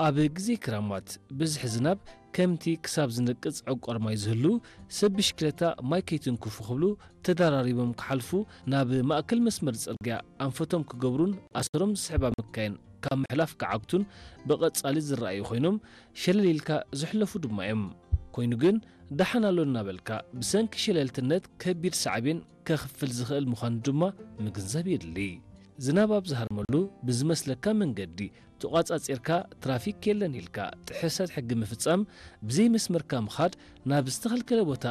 ኣብ ግዜ ክራማት ብዝሒ ዝናብ ከምቲ ክሳብ ዝነቅጽ ዕቋር ማይ ዝህሉ፣ ሰብ ብሽክለታ ማይ ከይትንክፉ ክብሉ ተደራሪቦም ክሓልፉ ናብ ማእከል መስመር ጽርግያ ኣንፈቶም ክገብሩን ኣሰሮም ዝስሕባ መካይን ካብ ምሕላፍ ክዓግቱን ብቐጻሊ ዝረኣዩ ኮይኖም፣ ሸለል ኢልካ ዝሕለፉ ድማ እዮም። ኮይኑ ግን፣ ደሓን ኣሎ እናበልካ ብሰንኪ ሸለልትነት ከቢድ ሳዕቤን ከኽፍል ዝኽእል ምዃኑ ድማ ምግንዛብ የድሊ። ዝናብ ኣብ ዝሃርመሉ ብዝመስለካ መንገዲ ተቋጻጺርካ ትራፊክ የለን ኢልካ ጥሕሰት ሕጊ ምፍጻም፣ ብዘይ መስመርካ ምኻድ፣ ናብ ዝተኸልከለ ቦታ